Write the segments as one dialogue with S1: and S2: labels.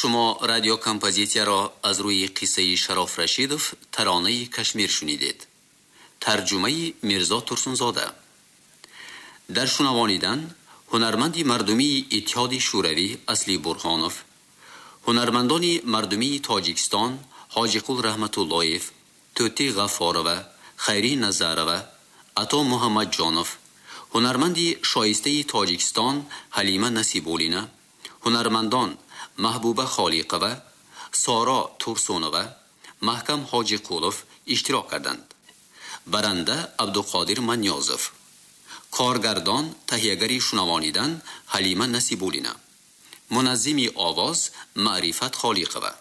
S1: Шумо радиокомпозитсияро аз рӯи қиссаи Шароф Рашидов «Таронаи Кашмир» шунидед. Тарҷумаи Мирзо Турсунзода. Дар шунавонидан ҳунарманди мардумии Иттиҳоди Шӯравӣ Асли Бурҳонов, ҳунармандони мардумии Тоҷикистон Ҳоҷиқул Раҳматуллоев, Тӯтӣ Ғаффорова, Хайрӣ Назарова, Ато Муҳаммадҷонов, ҳунарманди шоистаи Тоҷикистон Ҳалима Насибуллина, ҳунармандон Маҳбуба Холиқова, Соро Турсунова, Маҳкам Ҳоҷиқулов иштирок карданд. Баранда Абдуқодир Манёзов. Коргардон, таҳиягари шунавонидан Ҳалима Насибуллина. Муназзими овоз Маърифат Холиқова.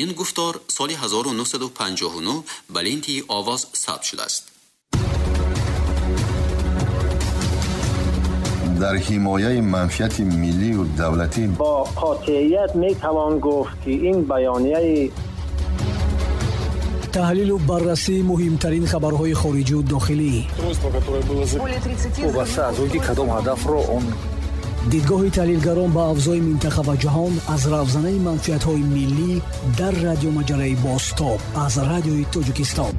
S1: Ин гуфтор соли 1959 ба ленти овоз сабт шудааст.
S2: Дар ҳимояи манфиати миллию давлатӣ
S3: бо қотеият метавон гуфт, ки ин баёнияи
S4: таҳлилу баррасии муҳимтарин хабарҳои хориҷию дохилӣ,
S5: вобаста аз он ки кадом ҳадафро он
S4: дидгоҳи таҳлилгарон ба авзои минтақа ва ҷаҳон аз равзанаи манфиатҳои миллӣ дар радиомаҷалаи «Бозтоб» аз Радиои Тоҷикистон.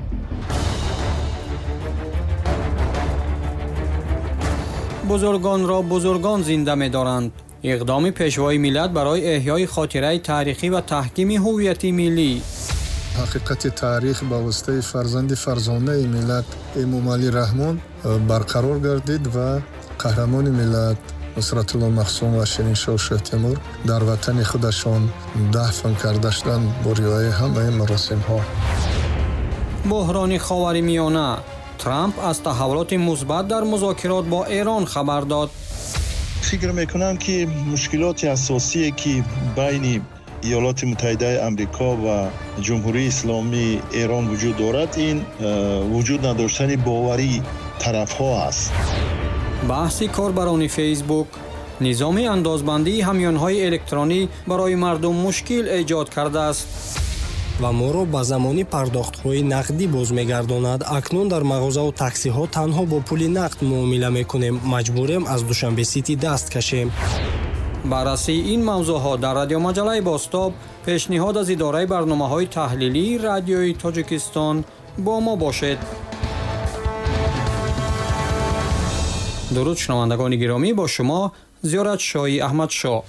S6: Бузургонро бузургон зинда медоранд. Иқдоми Пешвои миллат барои эҳёи хотираи таърихӣ ва таҳкими ҳуввияти миллӣ.
S7: Ҳақиқати таърих ба воситаи фарзанди фарзонаи миллат Эмомалӣ Раҳмон барқарор гардид ва қаҳрамони миллат Нусратулло Махсум ва Шириншоҳ Шоҳтемур дар ватани худашон дафн карда шуданд бо риояи ҳамаи маросимҳо.
S6: Буҳрони Ховари Миёна. Трамп аз таҳаввулоти мусбат дар музокирот бо Эрон хабар дод.
S8: Фикр мекунам, ки мушкилоти асосие, ки байни Иёлоти Муттаҳидаи Амрико ва Ҷумҳурии Исломии Эрон вуҷуд дорад, ин вуҷуд надоштани боварии тарафҳо аст.
S6: Баҳси корбарони Фейсбук. Низоми андозбандии ҳамёнҳои электронӣ барои мардум мушкил эҷод кардааст.
S9: Ва моро ба замони пардохтҳои нақдӣ боз мегардонад. Акнун дар мағозаву таксиҳо танҳо бо пули нақд муомила мекунем. Маҷбурем аз Душанбе Сити даст кашем.
S6: Баррасии ин мавзӯъҳо дар радиомаҷалаи «Бозтоб», пешниҳод аз идораи барномаҳои таҳлилии Радиои Тоҷикистон. Бо мо бошед. Дуруд, шунавандагони гиромӣ, бо шумо Зиёратшоҳи Аҳмадшоҳ.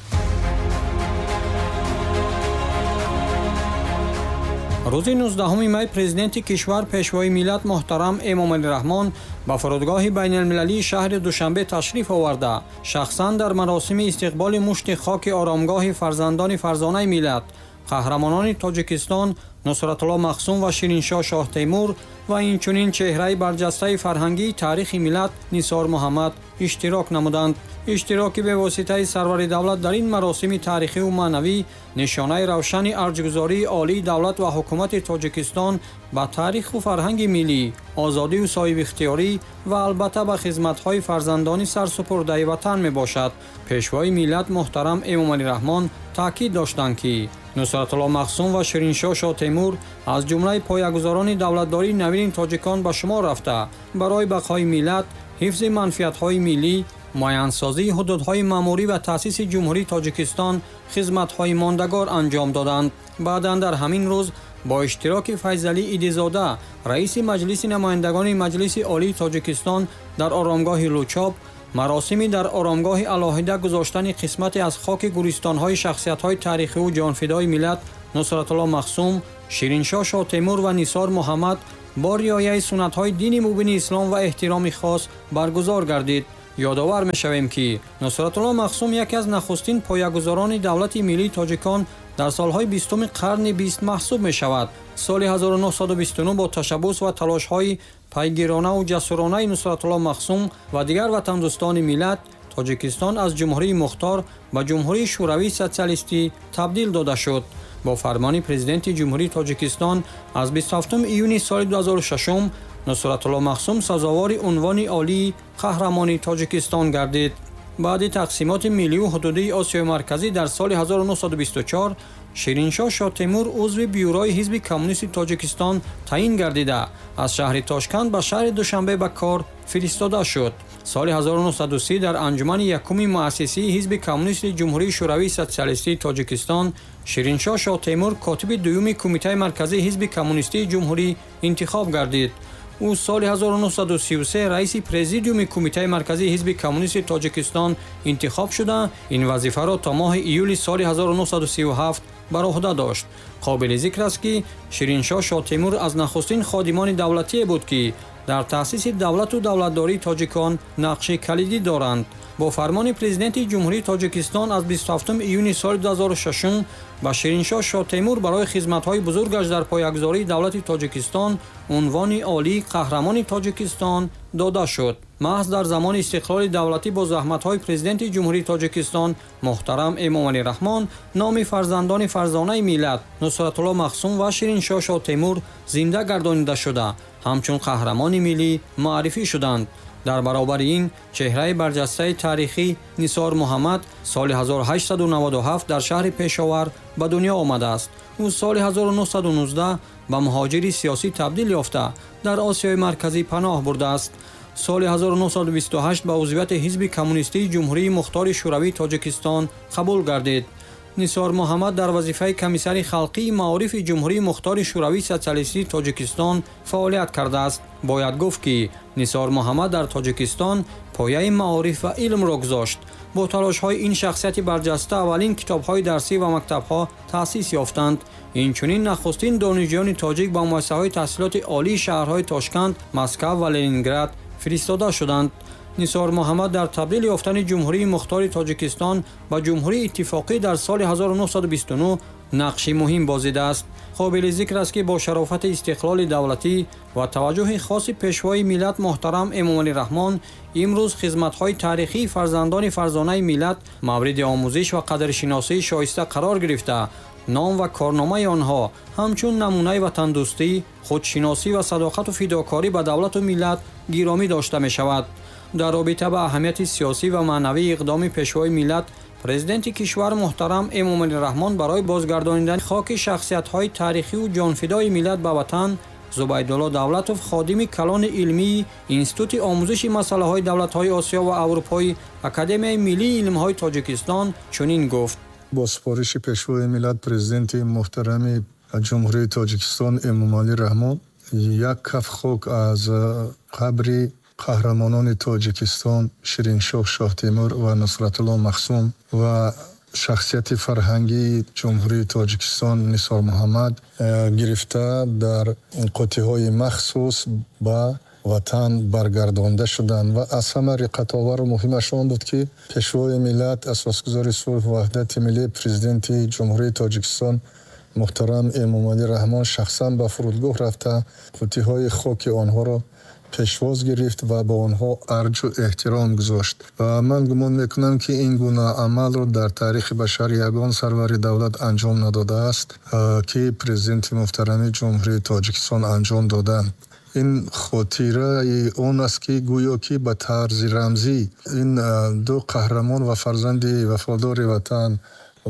S6: Рӯзи 19 май Президенти кишвар, Пешвои миллат муҳтарам Эмомалӣ Раҳмон ба фурудгоҳи байналмилалии шаҳри Душанбе ташриф оварда, шахсан дар маросими истиқболи мушти хоки оромгоҳи фарзандони фарзонаи миллат, қаҳрамонони Тоҷикистон Нусратулло Махсум ва Шириншоҳ Шоҳтемур ва инчунин чеҳраи барҷастаи фарҳангии таърихи миллат Нисор Муҳаммад иштирок намуданд. Иштироки бевоситаи сарвари давлат дар ин маросими таърихиву маънавӣ нишонаи равшани арҷгузории олии давлат ва ҳукумати Тоҷикистон ба таъриху фарҳанги миллӣ, озодию соҳибихтиёрӣ ва албатта ба хизматҳои фарзандони сарсупурдаи ватан мебошад. Пешвои миллат муҳтарам Эмомалӣ Раҳмон таъкид доштанд, ки Нусратулло Махсум ва Шириншоҳ Шоҳтемур аз ҷумлаи поягузорони давлатдории навини тоҷикон ба шумор рафта, барои бақои миллат, ҳифзи манфиатҳои миллӣ, муайянсозии ҳудудҳои маъмурӣ ва таъсиси Ҷумҳурии Тоҷикистон хизматҳои мондагор анҷом доданд. Баъдан дар ҳамин рӯз бо иштироки Файзалӣ Идизода, раиси Маҷлиси намояндагони Маҷлиси Олии Тоҷикистон, дар оромгоҳи Лучоб маросими дар оромгоҳи алоҳида гузоштани қисмате аз хоки гӯристонҳои шахсиятҳои таърихиву ҷонфидои миллат Нусратулло Махсум, Шириншоҳ Шоҳтемур ва Нисор Муҳаммад бо риояи суннатҳои дини мубини ислом ва эҳтироми хос баргузор гардид. Ёдовар мешавем, ки Нусратулло Махсум яке аз нахустин поягузорони давлати миллии тоҷикон дар солҳои 20-уми қарни 20 маҳсуб мешавад. Соли 1929 бо ташаббус ва талошҳои пайгиронаву ҷасуронаи Нусратулло Махсум ва дигар ватандӯстони миллат Тоҷикистон аз Ҷумҳурии Мухтор ба Ҷумҳурии Шӯравии Социалистӣ табдил дода шуд. Бо фармони Президенти Ҷумҳурии Тоҷикистон аз 27 июни соли 2006 Нусратулло Махсум сазовори унвони олии Қаҳрамони Тоҷикистон гардид. Баъди тақсимоти миллию ҳудудии Осиёи Марказӣ дар соли 1924 Шириншоҳ Шоҳтемур узви Бюрои Ҳизби Коммунисти Тоҷикистон таъин гардида, аз шаҳри Тошканд ба шаҳри Душанбе ба кор фиристода шуд. Соли 1930 дар анҷумани якуми муассисии Ҳизби Коммунисти Ҷумҳурии Шӯравии Социалистии Тоҷикистон Шириншоҳ Шоҳтемур котиби дуюми Кумитаи марказии Ҳизби Коммунистии Ҷумҳурӣ интихоб гардид. Ӯ соли 1933 раиси Президиуми Кумитаи марказии Ҳизби Коммунисти Тоҷикистон интихоб шуда, ин вазифаро то моҳи июли соли 1937 бар уҳда дошт. Қобили зикр аст, ки Шириншоҳ Шоҳтемур аз нахустин ходимони давлатие буд, ки дар таъсиси давлату давлатдории тоҷикон нақши калидӣ доранд. Бо фармони Президенти Ҷумҳурии Тоҷикистон аз 27 июни соли 2006 ба Шириншоҳ Шоҳтемур барои хизматҳои бузургаш дар поягузории давлати Тоҷикистон унвони олии Қаҳрамони Тоҷикистон дода шуд. Маҳз дар замони истиқлоли давлатӣ бо заҳматҳои Президенти Ҷумҳурии Тоҷикистон муҳтарам Эмомалӣ Раҳмон номи фарзандони фарзонаи миллат Нусратулло Махсум ва Шириншоҳ Шоҳтемур зинда гардонида шуда, ҳамчун қаҳрамони миллӣ муаррифӣ шуданд. Дар баробари ин чеҳраи барҷастаи таърихӣ Нисор Муҳаммад соли 1897 дар шаҳри Пешовар ба дунё омадааст. Ӯ соли 1919 ба муҳоҷири сиёсӣ табдил ёфта, дар Осиёи Марказӣ паноҳ бурдааст. Соли 1928 ба узвияти Ҳизби Коммунистии Ҷумҳурии Мухтори Шӯравии Тоҷикистон қабул гардид. Нисор Муҳаммад дар вазифаи комиссари халқии маорифи Ҷумҳурии Мухтори Шӯравии Социалистии Тоҷикистон фаъолият кардааст. Бояд гуфт, ки Нисор Муҳаммад дар Тоҷикистон пояи маориф ва илмро гузошт. Бо талошҳои ин шахсияти барҷаста аввалин китобҳои дарсӣ ва мактабҳо таъсис ёфтанд. Инчунин нахустин донишҷӯёни тоҷик ба муассисаҳои таҳсилоти олии шаҳрҳои Тошканд, Москав ва Ленинград фиристода шуданд. Нисор Муҳаммад дар табдил ёфтани Ҷумҳурии Мухтори Тоҷикистон ба Ҷумҳурии Иттифоқӣ дар соли 1929 нақши муҳим бозидааст. Қобили зикр аст, ки бо шарофати истиқлоли давлатӣ ва таваҷҷӯҳи хоси Пешвои миллат муҳтарам Эмомалӣ Раҳмон имрӯз хизматҳои таърихии фарзандони фарзонаи миллат мавриди омӯзиш ва қадршиносии шоиста қарор гирифта, ном ва корномаи онҳо ҳамчун намунаи ватандӯстӣ, худшиносӣ ва садоқату фидокорӣ ба давлату миллат гиромӣ дошта мешавад. Дар робита ба аҳамияти сиёсӣ ва маънавии иқдоми Пешвои миллат, Президенти кишвар муҳтарам Эмомалӣ Раҳмон барои бозгардонидани хоки шахсиятҳои таърихию ҷонфидои миллат ба ватан Зубайдулло Давлатов, ходими калони илмии Институти омӯзиши масъалаҳои давлатҳои Осиё ва Аврупои Академияи миллии илмҳои Тоҷикистон чунин гуфт:
S7: Бо супориши Пешвои миллат, Президенти муҳтарами Ҷумҳурии Тоҷикистон Эмомалӣ Раҳмон як каф хок аз қабри қаҳрамонони Тоҷикистон Шириншоҳ Шоҳтемур ва Нусратулло Махсум ва шахсияти фарҳангии Ҷумҳурии Тоҷикистон Нисор Муҳаммад гирифта, дар қуттиҳои махсус ба ватан баргардонда шуданд. Ва аз ҳама риққатовару муҳимаш он буд, ки Пешвои миллат, асосгузори сулҳу ваҳдати миллӣ, Президенти Ҷумҳурии Тоҷикистон муҳтарам Эмомалӣ Раҳмон шахсан ба фурудгоҳ рафта, қуттиҳои хоки онҳоро пешвоз гирифт ва ба онҳо арҷу эҳтиром гузошт. Ва ман гумон мекунам, ки ин гуна амалро дар таърихи башар ягон сарвари давлат анҷом надодааст, ки Президенти муҳтарами Ҷумҳурии Тоҷикистон анҷом доданд. Ин хотираи он аст, ки гӯё ки ба тарзи рамзӣ ин ду қаҳрамон ва фарзанди вафодори ватан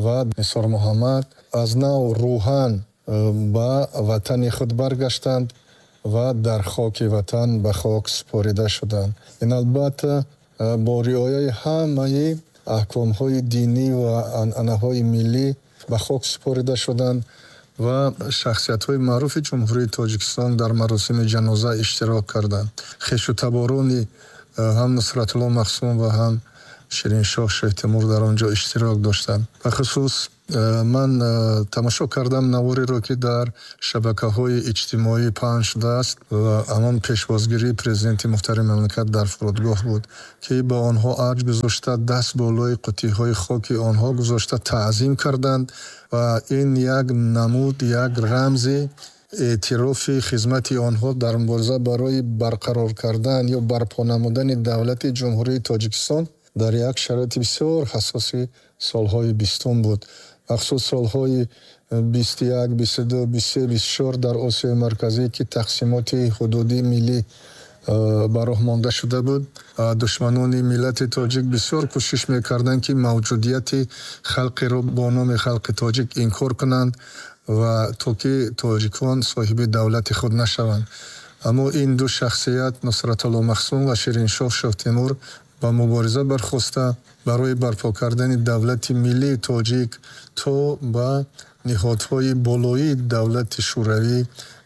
S7: ва Нисор Муҳаммад аз нав рӯҳан ба ватани худ баргаштанд ва дар хоки ватан ба хок супорида шуданд. Ин албатта бо риояи ҳамаи аҳкомҳои динӣ ва анъанаҳои миллӣ ба хок супорида шуданд ва шахсиятҳои маъруфи Ҷумҳурии Тоҷикистон дар маросими ҷаноза иштирок карданд. Хешу таборони ҳам Нусратулло Махсум ва ҳам Шириншоҳ Шоҳтемур дар он ҷо иштирок доштанд. Бахусус ман тамошо кардам навориро, ки дар шабакаҳои иҷтимоӣ паҳн шудааст, ва ҳамон пешвозгирии Президенти муҳтарами мамлакат дар фурудгоҳ буд, ки ба онҳо арҷ гузошта, даст болои қуттиҳои хоки онҳо гузошта, таъзим карданд. Ва ин як намуд, як рамзи эътирофи хизмати онҳо дар мубориза барои барқарор кардан ё барпо намудани давлати Ҷумҳурии Тоҷикистон дар як шароити бисёр ҳассоси солҳои 20-ум буд. Махсус солҳои 21, 22, 23, 24 дар Осиёи Марказӣ, ки тақсимоти ҳудудии миллӣ ба роҳ монда шуда буд. Душманони миллати тоҷик бисёр кӯшиш мекарданд, ки мавҷудияти халқеро бо номи халқи тоҷик инкор кунанд ва то ки тоҷикон соҳиби давлати худ нашаванд. Аммо ин ду шахсият, Нусратулло Махсум ва Шириншоҳ Шоҳтемур, ба мубориза бархоста, барои барпо кардани давлати миллии тоҷик то ба ниҳодҳои болоии давлати Шӯравӣ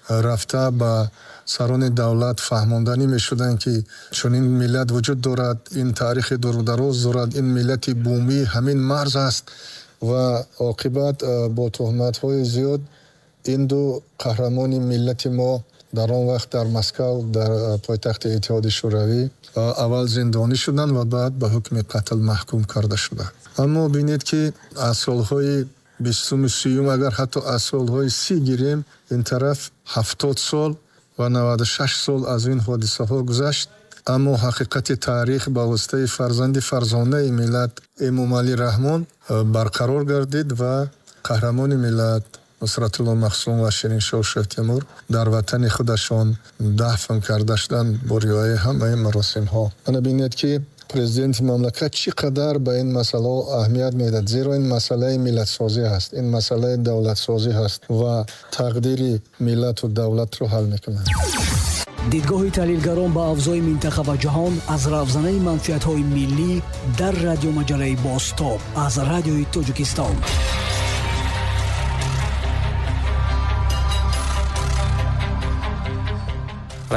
S7: рафта, ба сарони давлат фаҳмонданӣ мешуданд, ки чунин миллат вуҷуд дорад, ин таърихи дурудароз дорад, ин миллати бумӣ ҳамин марз аст. Ва оқибат бо туҳматҳои зиёд ин ду қаҳрамони миллати мо дар он вақт дар Москав, дар пойтахти Иттиҳоди Шӯравӣ, аввал зиндонӣ шуданд ва баъд ба ҳукми қатл маҳкум карда шуданд. Аммо бинед, ки аз солҳои бистуму сиюм, агар ҳатто аз солҳои 30 гирем, ин тараф 70 сол ва 96 сол аз ин ҳодисаҳо гузашт. Аммо ҳақиқати таърих ба воситаи фарзанди фарзонаи миллат Эмомалӣ Раҳмон барқарор гардид ва қаҳрамони миллат Нусратулло Махсум ва Шириншоҳ Шоҳтемур дар ватани худашон дафн карда шуданд бо риояи ҳамаи маросимҳо. Ана бинед, ки президенти мамлакат чӣ қадар ба ин масъалаҳо аҳамият медиҳад, зеро ин масъалаи миллатсозӣ ҳаст, ин масъалаи давлатсозӣ ҳаст ва тақдири миллату давлатро ҳал мекунад.
S4: Дидгоҳи таҳлилгарон ба авзои минтақа ва ҷаҳон аз равзанаи манфиатҳои миллӣ дар радиомаҷалаи Бозтоб аз Радиои Тоҷикистон.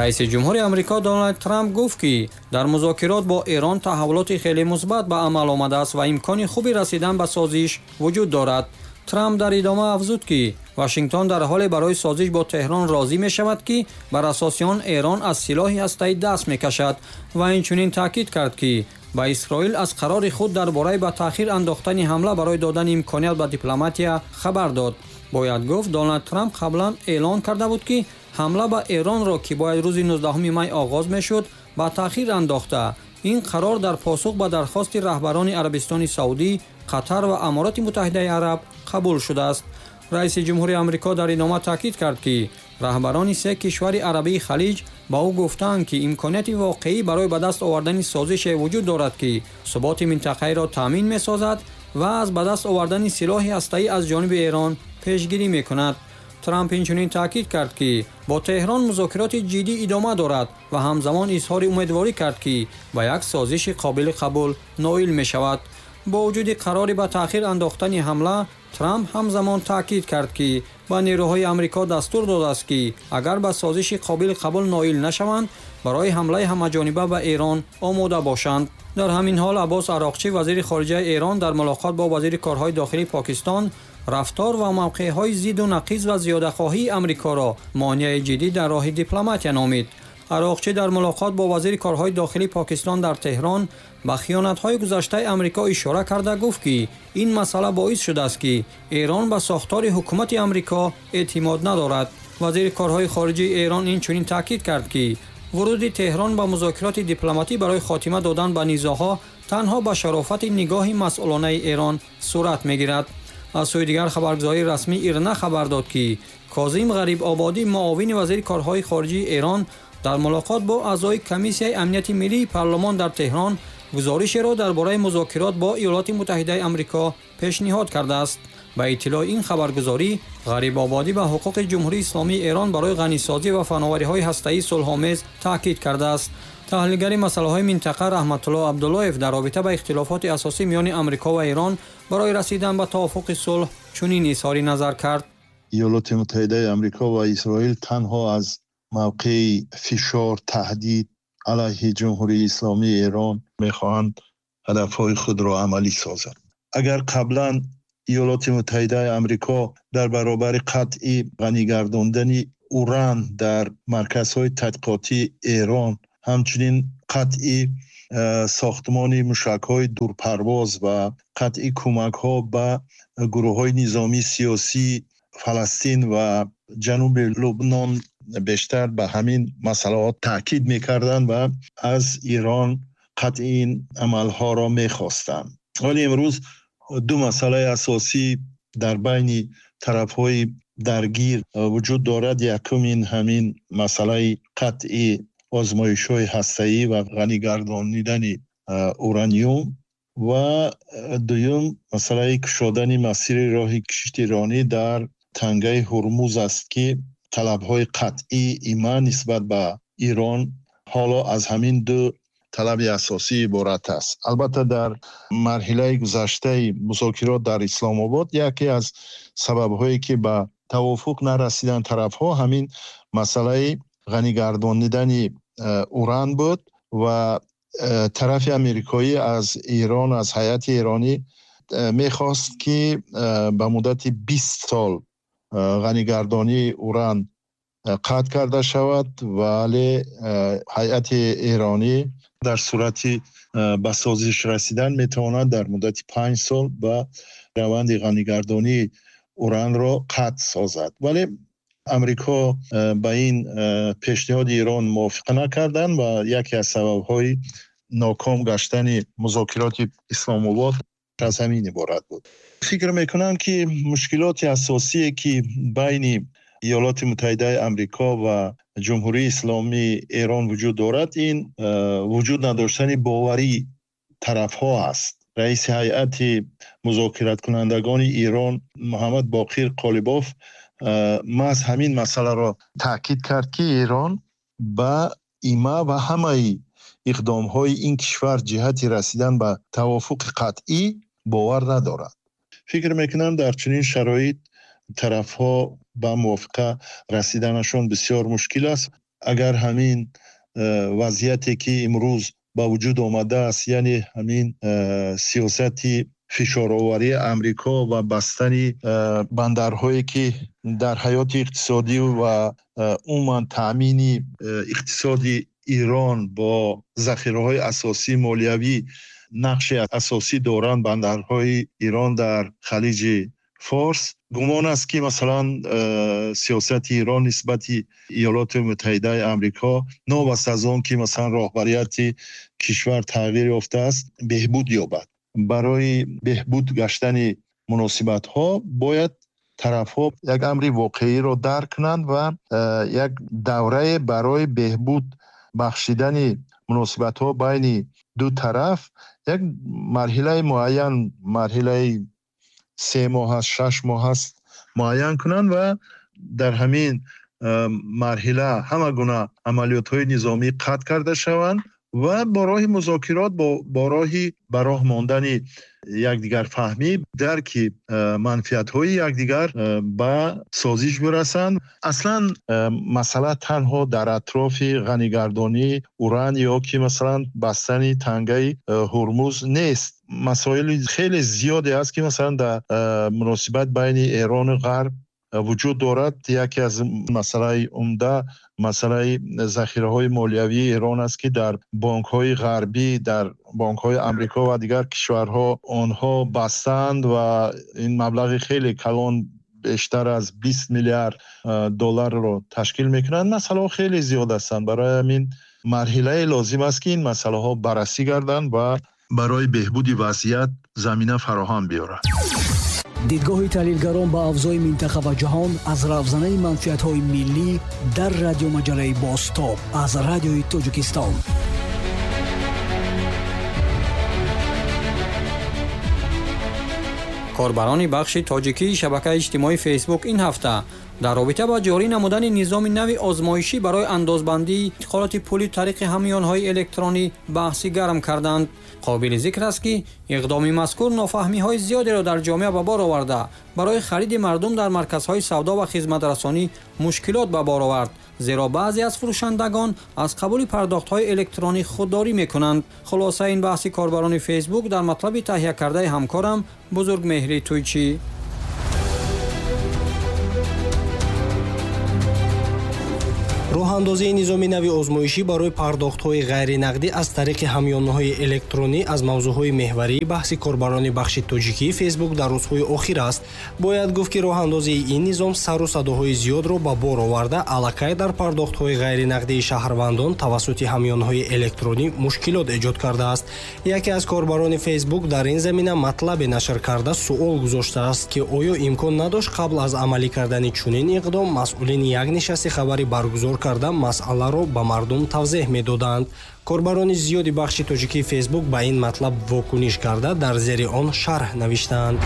S6: Раиси ҷумҳури Амрико Доналд Трамп гуфт, ки дар музокирот бо Эрон таҳаввулоти хеле мусбат ба амал омадааст ва имкони хуби расидан ба созиш вуҷуд дорад. Трамп дар идома афзуд, ки Вашингтон дар ҳоле барои созиш бо Теҳрон розӣ мешавад, ки бар асоси он Эрон аз силоҳи ҳастаӣ даст мекашад, ва инчунин таъкид кард, ки ба Исроил аз қарори худ дар бораи ба таъхир андохтани ҳамла барои додани имконият ба дипломатия хабар дод. Бояд гуфт, Доналд Трамп қаблан эълон карда буд, ки ҳамла ба Эронро, ки бояд рӯзи 19 май оғоз мешуд, ба таъхир андохта. Ин қарор дар посух ба дархости раҳбарони Арабистони Саудӣ, Қатар ва Амороти Муттаҳидаи Араб қабул шудааст. Раиси ҷумҳури Амрико дар идома таъкид кард, ки раҳбарони се кишвари арабии Халиҷ ба ӯ гуфтаанд, ки имконияти воқеӣ барои ба даст овардани созише вуҷуд дорад, ки суботи минтақаиро таъмин месозад ва аз ба даст овардани силоҳи ҳастаӣ аз ҷониби Эрон пешгирӣ мекунад. Трамп инчунин таъкид кард, ки бо Теҳрон музокироти ҷиддӣ идома дорад ва ҳамзамон изҳори умедворӣ кард, ки ба як созиши қобили қабул ноил мешавад. Бо вуҷуди қарори ба таъхир андохтани ҳамла, Трамп ҳамзамон таъкид кард, ки ба нерӯҳои Амрико дастур додааст, ки агар ба созиши қобили қабул ноил нашаванд, барои ҳамлаи ҳамаҷониба ба Эрон омода бошанд. Дар ҳамин ҳол Аббос Ароқчӣ, вазири хориҷаи Эрон, дар мулоқот бо вазири корҳои дохилии Покистон рафтор ва мавқеъҳои зидду нақиз ва зиёдахоҳии Амрикоро монеаи ҷиддӣ дар роҳи дипломатия номид. Ароқчӣ дар мулоқот бо вазири корҳои дохилии Покистон дар Теҳрон ба хиёнатҳои гузаштаи Амрико ишора карда гуфт, ки ин масъала боис шудааст, ки Эрон ба сохтори ҳукумати Амрико эътимод надорад. Вазири корҳои хориҷии Эрон инчунин таъкид кард, ки вуруди Теҳрон ба музокироти дипломатӣ барои хотима додан ба низоъҳо танҳо ба шарофати нигоҳи масъулонаи Эрон сурат мегирад. Аз сӯи дигар, хабаргузории расмии Ирна хабар дод, ки Козим Ғарибободӣ, муовини вазири корҳои хориҷии Эрон, дар мулоқот бо аъзои комиссияи амнияти миллии парлумон дар Теҳрон гузоришеро дар бораи музокирот бо Иёлоти Муттаҳидаи Амрико пешниҳод кардааст. Ба иттилои ин хабаргузорӣ, Ғарибободӣ ба ҳуқуқи Ҷумҳурии Исломии Эрон барои ғанисозӣ ва фановариҳои ҳастаӣ сулҳомез таъкид кардааст. Таҳлилгари масъалаҳои минтақа Раҳматулло Абдуллоев дар робита ба ихтилофоти асосӣ миёни Амрико ва Эрон барои расидан ба тавофуқи сулҳ чунин изҳори назар кард.
S8: Иёлоти Муттаҳидаи Амрико ва Исроил танҳо аз мавқеи фишор, таҳдид алайҳи Ҷумҳурии Исломии Эрон мехоҳанд ҳадафҳои худро амалӣ созанд. Агар қаблан Иёлоти Муттаҳидаи Амрико дар баробари қатъи ғанигардондани уран дар марказҳои тадқиқотии Эрон, ҳамчунин қатъи сохтмони мушакҳои дурпарвоз ва қатъи кӯмакҳо ба гурӯҳҳои низомии сиёсии Фаластин ва ҷануби Лубнон бештар ба ҳамин масъалаҳо таъкид мекарданд ва аз Эрон қатъи ин амалҳоро мехостанд. Вале имрӯз ду масъалаи асосӣ дар байни тарафҳои даргир вуҷуд дорад. Якум ин ҳамин масъалаи қатъи озмоишҳои ҳастаӣ ва ғанигардонидани ураниум ва дуюм масъалаи кушодани масири роҳи киштиронӣ дар тангаи Ҳурмуз аст, ки талабҳои қатъии ИМА нисбат ба Эрон ҳоло аз ҳамин ду талаби асосӣ иборат аст. Албатта, дар марҳилаи гузаштаи музокирот дар Исломобод яке аз сабабҳое ки ба тавофуқ нарасиданд тарафҳо, ҳамин масъалаи ғанигардонидани уран буд ва тарафи амрикоӣ аз Эрон, аз ҳайати эронӣ мехост ки ба муддати 20 сол ғанигардонии уран қатъ карда шавад, вале ҳайати эронӣ дар сурати ба созиш расидан метавонад дар муддати 5 сол ба раванди ғанигардонии уранро қатъ созад. Вале Амрико ба ин пешниҳоди Эрон мувофиқа накарданд ва яке аз сабабҳои ноком гаштани музокироти Исломобод аз ҳамин иборат буд. Фикр мекунам ки мушкилоти асосие ки байни Иёлоти Муттаҳидаи Амрико ва Ҷумҳурии Исломии Эрон вуҷуд дорад, ин вуҷуд надоштани боварии тарафҳо аст. Раиси ҳайати музокираткунандагони Эрон Муҳаммад Боқир Қолибоф маҳз ҳамин масъаларо таъкид кард, ки Эрон ба ИМА ва ҳамаи иқдомҳои ин кишвар ҷиҳати расидан ба тавофуқи қатъӣ бовар надорад. Фикр мекунам, дар чунин шароит тарафҳо ба мувофиқа расиданашон бисёр мушкил аст. Агар ҳамин вазъияте ки имрӯз ба вуҷуд омадааст, яъне ҳамин сиёсати фишороварии Амрико ва бастани бандарҳое ки дар ҳаёти иқтисодӣ ва умуман таъмини иқтисоди Эрон бо захираҳои асосии молиявӣ нақши асосӣ доранд, бандарҳои Эрон дар Халиҷи Форс, гумон аст ки масалан сиёсати Эрон нисбати Иёлоти Муттаҳидаи Амрико, новобаста аз он ки масалан роҳбарияти кишвар тағйир ёфтааст, беҳбуд ёбад. Барои беҳбуд гаштани муносибатҳо бояд тарафҳо як амри воқеиро дарк кунанд ва як даврае барои беҳбуд бахшидани муносибатҳо байни ду тараф, як марҳилаи муайян, марҳилаи 3 моҳ аст, 6 моҳ аст, муайян кунанд ва дар ҳамин марҳила ҳама гуна амалиётҳои низомӣ қатъ карда шаванд ва бо роҳи музокирот, бо роҳи ба роҳ мондани якдигарфаҳмӣ, дарки манфиатҳои якдигар ба созиш бирасанд. Аслан масъала танҳо дар атрофи ғанигардонии уран ё ки масалан бастани тангаи Ҳурмуз нест. Масоили хеле зиёде аст ки масалан дар муносибат байни Эрону Ғарб вуҷуд дорад. Яке аз масъалаи умда масъалаи захираҳои молиявии Эрон аст ки дар бонкҳои ғарбӣ, дар бонкҳои Амрико ва дигар кишварҳо онҳо бастанд ва ин маблағи хеле калон, бештар аз 20 миллиард долларро ташкил мекунанд. Масъалаҳо хеле зиёд ҳастанд. Барои ҳамин марҳилае лозим аст ки ин масъалаҳо баррасӣ гарданд ва барои беҳбуди вазъият замина фароҳам биёрад.
S4: Дидгоҳи таҳлилгарон ба авзои минтақа ва ҷаҳон аз равзанаи манфиатҳои миллӣ дар радиомаҷалаи Бозтоб аз Радиои Тоҷикистон.
S6: Корбарони бахши тоҷикии шабакаи иҷтимоии Фейсбук ин ҳафта дар робита ба ҷорӣ намудани низоми нави озмоишӣ барои андозбандии интиқолоти пули тариқи ҳамёнҳои электронӣ баҳси гарм карданд. Қобили зикр аст ки иқдоми мазкур нофаҳмиҳои зиёдеро дар ҷомеа ба бор оварда, барои хариди мардум дар марказҳои савдо ва хизматрасонӣ мушкилот ба бор овард, зеро баъзе аз фурӯшандагон аз қабули пардохтҳои электронӣ худдорӣ мекунанд. Хулосаи ин баҳси корбарони Фейсбук дар матлаби таҳия кардаи ҳамкорам Бузургмеҳри Туйчӣ.
S9: Роҳандозии низоми нави озмоишӣ барои пардохтҳои ғайринақдӣ аз тариқи ҳамёнҳои электронӣ аз мавзӯъҳои меҳварии баҳси корбарони бахши тоҷикии Фейсбук дар рӯзҳои охир аст. Бояд гуфт, ки роҳандозии ин низом сару садоҳои зиёдро ба бор оварда, аллакай дар пардохтҳои ғайринақдии шаҳрвандон тавассути ҳамёнҳои электронӣ мушкилот эҷод кардааст. Яке аз корбарони Фейсбук дар ин замина матлабе нашр карда суол гузоштааст, ки оё имкон надошт қабл аз амалӣ кардани чунин иқдом масъулин як нишасти хабарӣ баргузор карда масъаларо ба мардум тавзеҳ медоданд. Корбарони зиёди бахши тоҷикии Фейсбук ба ин матлаб вокуниш карда, дар зери он шарҳ навиштаанд.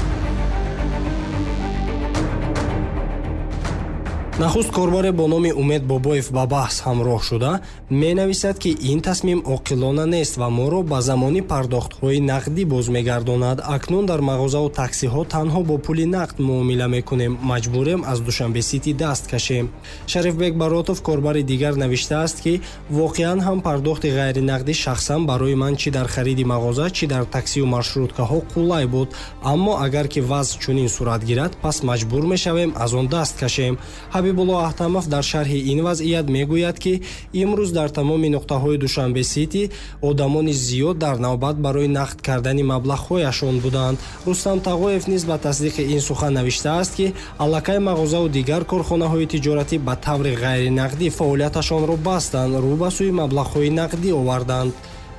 S9: Нахуст корбаре бо номи Умед Бобоев ба баҳс ҳамроҳ шуда менависад, ки ин тасмим оқилона нест ва моро ба замони пардохтҳои нақдӣ боз мегардонад. Акнун дар мағозаву таксиҳо танҳо бо пули нақд муомила мекунем, маҷбурем аз Душанбе Сити даст кашем. Шарифбек Баротов, корбари дигар, навиштааст, ки воқеан ҳам пардохти ғайринақдӣ шахсан барои ман чӣ дар хариди мағоза, чӣ дар таксию маршруткаҳо қулай буд, аммо агар ки вазъ чунин сурат гирад, пас маҷбур мешавем аз он даст кашем. Ҳабибулло Аҳтамов дар шарҳи ин вазъият мегӯяд, ки имрӯз дар тамоми нуқтаҳои Душанбе Сити одамони зиёд дар навбат барои нақд кардани маблағҳояшон буданд. Рустам Тағоев низ ба тасдиқи ин сухан навиштааст, ки аллакай мағозаву дигар корхонаҳои тиҷоратӣ ба таври ғайринақдӣ фаъолияташонро бастанд, рӯ ба сӯи маблағҳои нақдӣ оварданд.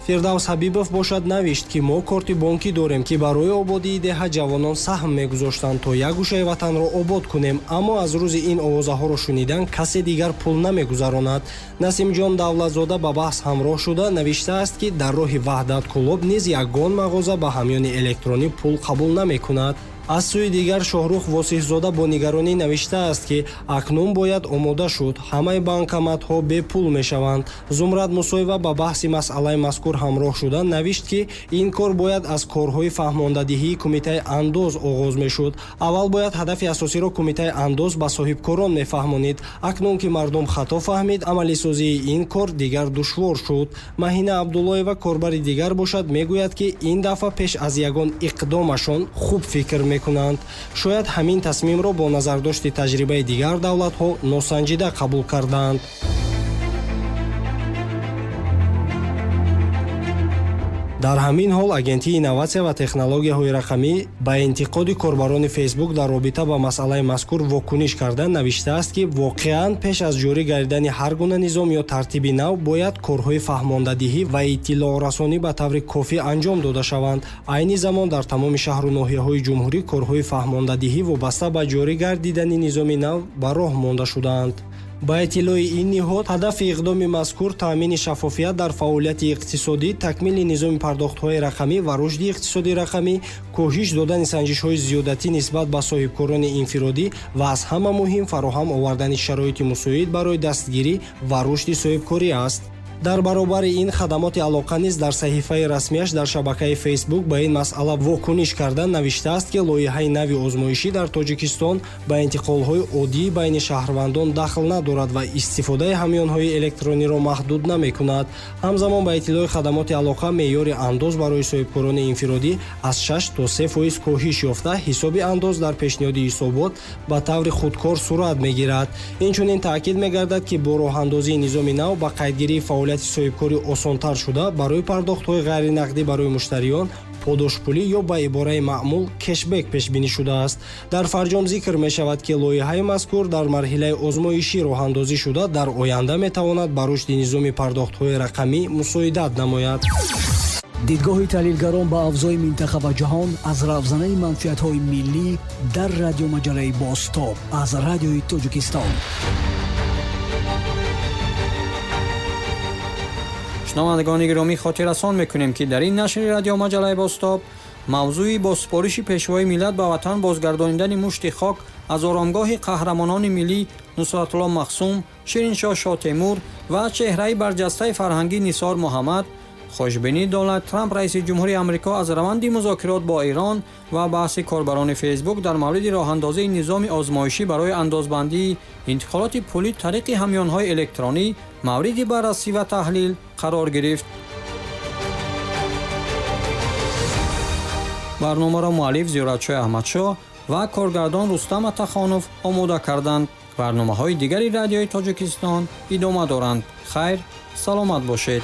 S9: Фирдавс Ҳабибов бошад навишт, ки мо корти бонкӣ дорем, ки барои ободии деҳа ҷавонон саҳм мегузоштанд, то як гӯшаи ватанро обод кунем, аммо аз рӯзи ин овозаҳоро шунидан касе дигар пул намегузаронад. Насимҷон Давлатзода ба баҳс ҳамроҳ шуда навиштааст, ки дар роҳи Ваҳдат Кӯлоб низ ягон мағоза ба ҳамёни электронӣ пул қабул намекунад. Аз сӯи дигар, Шоҳрух Восиҳзода бо нигаронӣ навиштааст, ки акнун бояд омода шуд, ҳамаи банкоматҳо бепул мешаванд. Зумрад Мусоева ба баҳси масъалаи мазкур ҳамроҳ шуда навишт, ки ин кор бояд аз корҳои фаҳмондадиҳии Кумитаи андоз оғоз мешуд. Аввал бояд ҳадафи асосиро Кумитаи андоз ба соҳибкорон мефаҳмонид. Акнун ки мардум хато фаҳмид, амалисозии ин кор дигар душвор шуд. Маҳина Абдуллоева, корбари дигар бошад, мегӯяд, ки ин дафъа пеш аз ягон иқдомашон хуб фикр мекунанд. Шояд ҳамин тасмимро бо назардошти таҷрибаи дигар давлатҳо носанҷида қабул карданд. Дар ҳамин ҳол Агентии инноватсия ва технологияҳои рақамӣ ба интиқоди корбарони Фейсбук дар робита ба масъалаи мазкур вокуниш карда навиштааст, ки воқеан пеш аз ҷорӣ гардидани ҳар гуна низом ё тартиби нав бояд корҳои фаҳмондадиҳӣ ва иттилоърасонӣ ба таври кофӣ анҷом дода шаванд. Айни замон дар тамоми шаҳру ноҳияҳои ҷумҳурӣ корҳои фаҳмондадиҳӣ вобаста ба ҷорӣ гардидани низоми нав ба роҳ монда шудаанд. Ба иттилои ин ниҳод, ҳадафи иқдоми мазкур таъмини шаффофият дар фаъолияти иқтисодӣ, такмили низоми пардохтҳои рақамӣ ва рушди иқтисоди рақамӣ, коҳиш додани санҷишҳои зиёдатӣ нисбат ба соҳибкорони инфиродӣ ва аз ҳама муҳим фароҳам овардани шароити мусоид барои дастгирӣ ва рушди соҳибкорӣ аст. Дар баробари ин, хадамоти алоқа низ дар саҳифаи расмияш дар шабакаи Фейсбук ба ин масъала вокуниш карда навиштааст, ки лоиҳаи нави озмоишӣ дар Тоҷикистон ба интиқолҳои оддии байни шаҳрвандон дахл надорад ва истифодаи ҳамёнҳои электрониро маҳдуд намекунад. Ҳамзамон, ба иттилои хадамоти алоқа, меъёри андоз барои соҳибкорони инфиродӣ аз 6 то 3% коҳиш ёфта, ҳисоби андоз дар пешниҳоди ҳисобот ба таври худкор сурат мегирад. Инчунин таъкид мегардад, ки бо роҳандозии низоми нав ба қайдгирии фаъолият соҳибкорӣ осонтар шуда, барои пардохтҳои ғайринақдӣ барои муштариён подошпулӣ ё ба ибораи маъмул кешбек пешбинӣ шудааст. Дар фарҷом зикр мешавад, ки лоиҳаи мазкур дар марҳилаи озмоишӣ роҳандозӣ шуда, дар оянда метавонад ба рушди низоми пардохтҳои рақамӣ мусоидат намояд.
S4: Дидгоҳи таҳлилгарон ба авзои минтақа ва ҷаҳон аз равзанаи манфиатҳои миллӣ дар радиомаҷалаи Бозтоб аз Радиои Тоҷикистон.
S6: Шунавандагони гиромӣ, хотиррасон мекунем, ки дар ин нашри радиомаҷалаи Бозтоб мавзӯи бо супориши Пешвои миллат ба ватан бозгардонидани мушти хок аз оромгоҳи қаҳрамонони миллӣ Нусратулло Махсум, Шириншоҳ Шоҳтемур ва чеҳраи барҷастаи фарҳангӣ Нисор Муҳаммад, хушбинии Доналд Трамп, раиси ҷумҳури Амрико, аз раванди музокирот бо Эрон ва баҳси корбарони Фейсбук дар мавриди роҳандозии низоми озмоишӣ барои андозбандии интиқолоти пулӣ тариқи ҳамёнҳои электронӣ мавриди баррасӣ ва таҳлил қарор гирифт. Барномаро муаллиф Зиёратшоҳ Аҳмадшоҳ ва коргардон Рустам Атахонов омода карданд. Барномаҳои дигари Радиои Тоҷикистон идома доранд. Хайр, саломат бошед.